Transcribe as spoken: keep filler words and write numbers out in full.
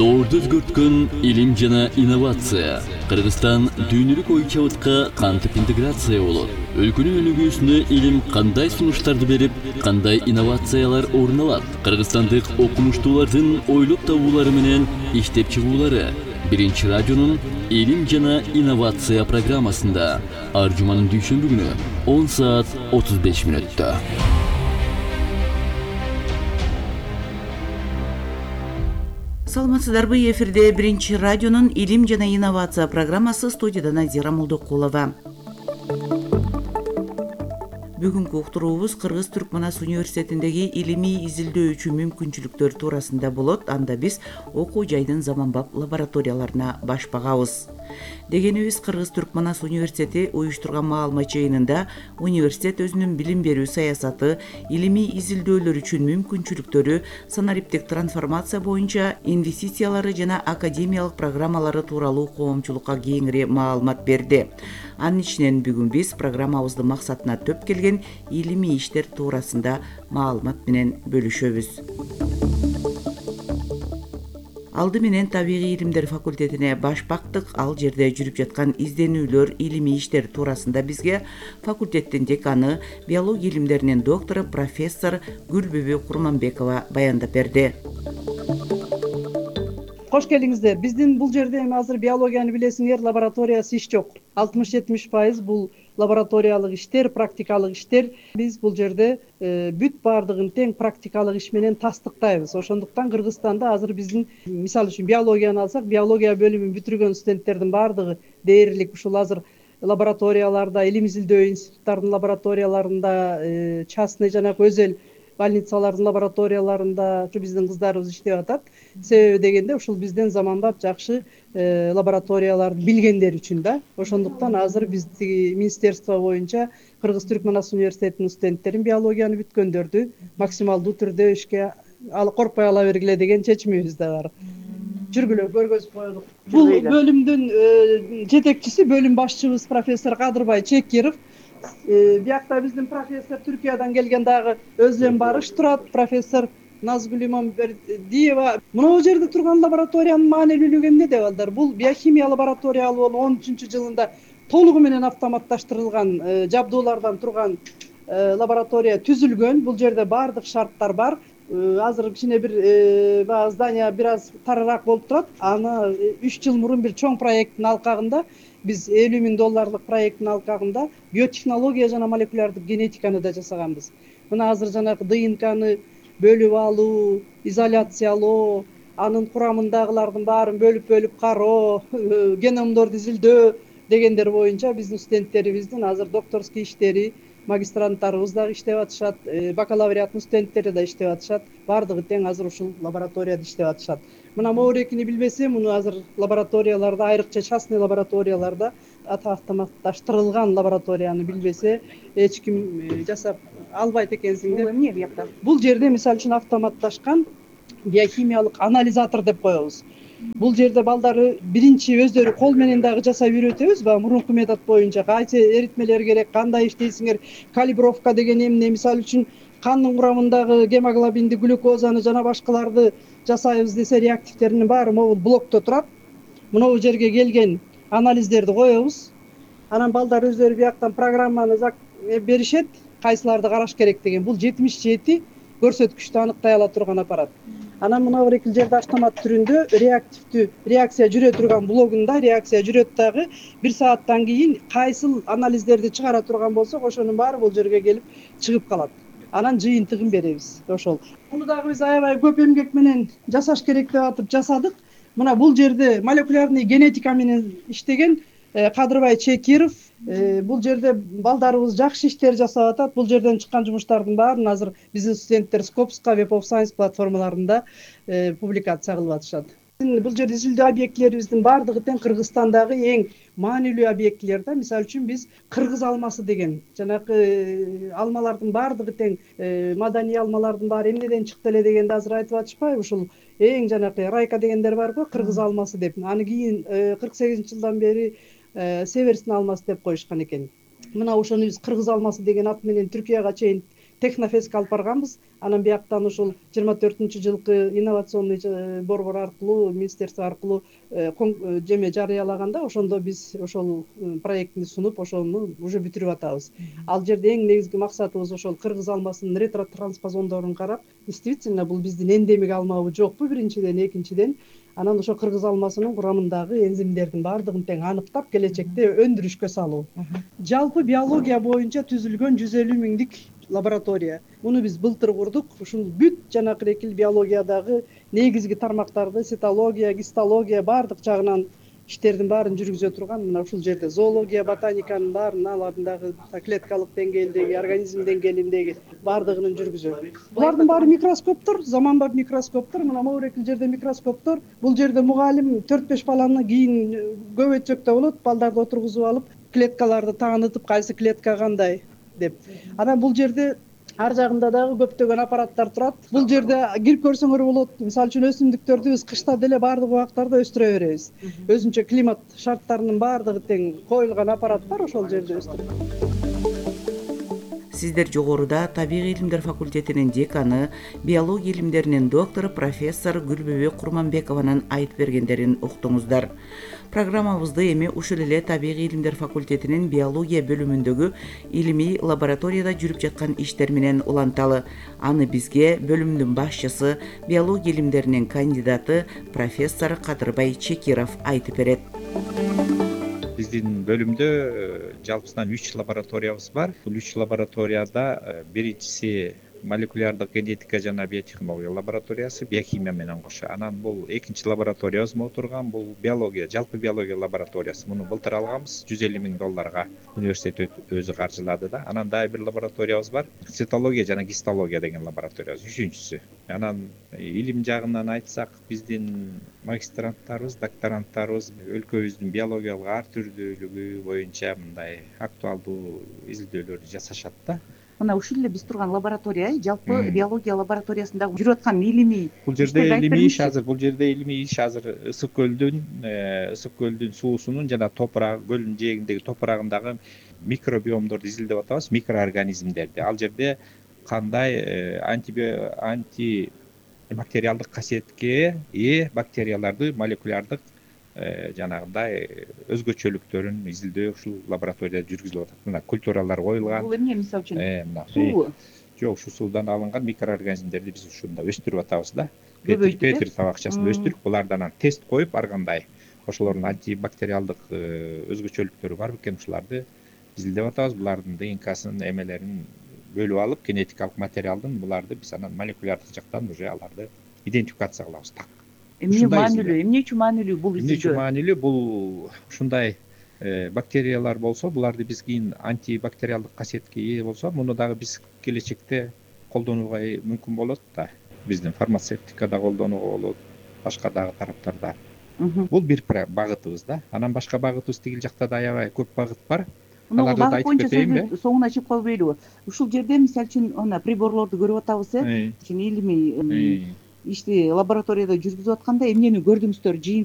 Доорду өзгөрткөн илим жана инновация. Кыргызстан дүйнөлүк ой чабытка кантип интеграция болот? Өлкөнүн өнүгүүсүнө илим кандай сунуштарды берип, кандай инновациялар орун алат? Кыргызстандык окумуштуулардын ойлоп табуулары менен иштеп чыгуулары Биринчи радионун илим жана инновация программасында ар жуманын дүйшөмбү күнү он саат отуз беш мүнөттө. Саламатсыздарбы, эфирде Биринчи радионун илим жана инновация программасы, студияда Назира Молдокулова. Бүгүнкү уктуруубуз Кыргыз-Түркманас университетиндеги илимий изилдөөчү мүмкүнчүлүктөр туурасында болот. Анда биз окуу жайдын заманбап лабораторияларына баш багабыз. Дегенибиз, Кыргыз-Түркманас университети уюштурган маалымат жыйынында университет өзүнүн билим берүү саясаты, илимий изилдөөлөр үчүн мүмкүнчүлүктөрү, санариптик трансформация боюнча инвестициялары жана академиялык программалары тууралуу коомчулукка кеңири маалымат берди. Анын ичинен бүгүн биз программабыздын максатына төп келген илимий иштер туурасында маалымат менен бөлүшөбүз. Алды менен табигый илимдер факультетине баш бактык. Ал жерде жүрүп жаткан изденүүлөр, илимий иштер туурасында бизге факультеттин деканы, биология илимдеринин доктору, профессор Гүлбүбү Курманбекова баяндап берди. Кош келиңиздер. Биздин бул жерде эми азыр биологияны билесиңер, лабораториясы иш жок. алтымыш жетимиш пайыз бул лабораториялык иштер, практикалык иштер. Биз бул жерде э, бүт баардыгын тең практикалык иш менен тастыктайбыз. Ошондуктан Кыргызстанда азыр биздин, мисалы үчүн биологияны алсак, биология бөлүмүн бүтүргөн студенттердин баардыгы дээрлик ушул азыр лабораторияларда, илим изилдөө институттарынын лабораторияларында, э, частный жана өзел больницалардын лабораторияларында ушу биздин кыздарыбыз иштеп атат. Себеби дегенде ушул бизден заманбап жакшы э, лабораторияларды билгендер үчүн да. Ошондуктан азыр биздин министерство боюнча Кыргыз-Түркманас университетинин студенттерин биологияны бүткөндөрдү максималдуу түрдө ишке ал коркпой ала бергиле деген чечимибиз да бар. Жүргүлө көргөзүп коелук. Бул бөлүмдүн э, жетекчиси, бөлүм башчыбыз профессор Кадырбай Чекиров. Биякта биздин профессор Түркиядан келген дагы өзүнөн барыш турат, профессор Назгүл Имамбердиева. Мына жерде турган лабораториянын маанилүүлүгү эмне деп алдар? Бул биохимия лабораториялуу он үчүнчү жылында толугу менен автоматташтырылган жабдуулардан турган лаборатория түзүлгөн. Бул жерде баардык шарттар бар. Азыр кичине бир баягы здание бир аз тарыраак болуп турат. Аны үч жыл мурун бир чоң проекттин алкагында, биз элүү миң долларлык проекттин алкагында биотехнология жана молекулярдык генетиканы да жасаганбыз. Мына азыр жанагы ДНКны бөлүп алуу, изоляциялоо, анын курамындагылардын баарын бөлүп-бөлүп кароо, геномдорду изилдөө дегендер боюнча биздин студенттерибиздин азыр докторский иштери, магистранттарыбыз дагы иштеп атышат, бакалавриаттын студенттери да иштеп атышат. Баардыгы тең азыр ушул лабораторияда иштеп атышат. Мына моурекини билбесе, муну азыр лабораторияларда, айрыкча частный лабораторияларда автоматташтырылган лабораторияны билбесе, эч ким жасап албайт экенсиңдер. Бул эмне биякта? Бул жерде мисалы үчүн автоматташкан биохимиялык анализатор деп коебуз. Бул жерде балдары биринчи өздөрү кол менен дагы жасап үйрөтөбүз, баягы мурунку метод боюнча кайсы эритмелер керек, кандай иштейсиңер, калибровка деген эмне, мисалы үчүн кандын курамындагы гемоглобинди, глюкозаны жана башкаларды жасайбыз десе, реактивтеринин баары могул блокто турат. Мына бул жерге келген анализдерди коебуз. Анан балдар өздөрү бияктан программаны беришет, кайсыларды караш керек деген. Бул жетимиш жети көрсөткүчтү аныктай ала турган аппарат. Анан мына бир эки жерде автомат түрүндө реактивдүү реакция жүрө турган блогунда реакция жүрөт дагы. Бир сааттан кийин кайсыл анализдерди чыгара турган болсок, ошонун баары бул жерге келип чыгып калат. Анан жыйынтыгын беребиз. Ошол. Муну дагы биз аябай көп эмгек менен жасаш керек деп атып жасадык. Мына бул жерде молекулярный генетика менен иштеген Кадырбай Чекиров. Бул жерде балдарыбыз жакшы иштер жасап атат. Бул жерден чыккан жумуштардын баарын азыр биздин студенттер Scopus'ка Web of Science платформаларында публикация кылып атышат. Бул жерде изилдөө объектилерибиздин баардыгы тең Кыргызстандагы эң маанилүү объектилер да. Мисалы үчүн биз Кыргыз алмасы деген жанагы алмалардын баардыгы тең маданий алмалардын баары эмнеден чыкты эле дегенди азыр айтып атышпайбы? Ушул эң жанагы райка дегендер бар го, Кыргыз алмасы деп. Аны кийин кырк сегизинчи жылдан бери Северстин алмасы деп коюшкан экен. Мына ошону биз Кыргыз алмасы деген ат менен Түркияга чейин технофестке алып барганбыз. Анан бияктан ушул жыйырма төртүнчү жылкы инновационный борбор аркылуу, министерство аркылуу жеме жарыялаганда ошондо биз ошол проектти сунуп, ошону уже бүтүрүп атабыз. Ал жерде эң негизги максатыбыз ошол кыргыз алмасынын ретротранспозондорун карап, действительно бул биздин эндемик алмабы жокпу биринчиден, экинчиден анан ошо кыргыз алмасынын курамындагы энзимдердин баардыгын тең аныктап, келечекте өндүрүшкө салуу. Жалпы биология боюнча түзүлгөн жүз элүү миңдик лаборатория. Муну биз былтыр курдук. Ушул бүт жанакырекил биологиядагы негизги тармактарды, цитология, гистология баардык жагынан иштердин баарын жүргүзө турган мына ушул жерде зоология, ботаниканын баарын, алардын дагы клеткалык деңгээлдеги, организм деңгээлиндеги баардыгын жүргүзөт. Булардын баары микроскоптор, заманбап микроскоптор, мына могу жерде микроскоптор. Бул жерде мугалим төрт беш баланы кийин көп өтсөктө болот, балдарды отургузуп алып, клеткаларды таанытып, кайсы клетка кандай деп. Анан бул жерде ар жагында дагы көптөгөн аппараттар турат. Бул жерде кирип көрсөңөр болот. Мисалы үчүн өсүмдүктөрдү биз кышта деле баардык убактарда өстүрө беребиз. Өзүнчө климат шарттарынын баардыгы тең коюлган аппарат бар ошол жерде өстүрөт. Сиздер жогоруда табигый илимдер факультетинин деканы, биология илимдеринин доктору профессор Гүлбөбөк Курманбекованын айтып бергендерин уктуңуздар. Программабызды эми ушул эле табигый илимдер факультетинин биология бөлүмүндөгү илимий лабораторияда жүрүп жаткан иштер менен уланталы. Аны бизге бөлүмдүн башчысы, биология илимдеринин кандидаты профессор Кадырбай Чекиров айтып берет. Биздин бөлүмдө жалпысынан үч лабораториябыз бар. Бул үч лабораторияда биринчиси молекулярдык генетика жана биотехнология лабораториясы, биохимия менен кошо. Анан бул экинчи лабораториябыз болуп турган, бул биология, жалпы биология лабораториясы. Муну былтыр алганбыз, жүз элүү миң долларга университет өзү каржылады да. Анан дагы бир лабораториябыз бар, цитология жана гистология деген лабораториябыз, үчүнчүсү. Анан илим жагынан айтсак, биздин магистранттарыбыз, докторанттарыбыз өлкөбүздүн биологиялык ар түрдүүлүгү боюнча мындай актуалдуу изилдөөлөрдү жасашат да. Мына ушул эле биз турган лаборатория, жалпы биология лабораториясында жүрүп аткан илимий. Бул жерде илимий иш азыр, бул жерде илимий иш азыр Ысык көлдүн, Ысык көлдүн суусунун жана топурак, көлдүн жээгиндеги топурагындагы микробиомдорду изилдеп атабыз, микроорганизмдерди. Ал жерде кандай антибактериалдык касиетке ээ бактерияларды молекулярдык жанагындай өзгөчөлүктөрүн изилдөө ушул лабораторияда жүргүзүлүп атат. Мына культуралар коюлган. Бул эмне мисалы үчүн? Мына Суу. Жок, ушу суудан алынган микроорганизмдерди биз ушунда өстүрүп атабыз да. Петри табакчасында өстүрүп, булардан тест коюп, ар кандай ошолордун антибактериалдык өзгөчөлүктөрү бар бекен, ушуларды изилдеп атабыз. Булардын ДНКсын, эмелерин бөлүп алып, генетикалык материалдын буларды биз анан молекулярдык жактан уже аларды идентификация кылабыз. Так. Эмне маанилүү, эмне үчүн маанилүү бул изилдөө? Эмне үчүн маанилүү? Бул ушундай бактериялар болсо, буларды биз кийин антибактериалдык касиетке ээ болсо, муну дагы биз келечекте колдонууга мүмкүн болот да. Биздин фармацевтикада колдонууга болот, башка дагы тараптарда. Бул бир багытыбыз да. Анан башка багытыбыз тигил жакта да аябай көп багыт бар. Аларды да айтып кетейинби? Соңуна чыгып калбайлыбы? Ушул жерде мисалы үчүн ана приборлорду көрүп атабыз, э? Илимий ишти лабораторияда жүргүзүп атканда эмнени көрдүңүздөр? Жыйынтык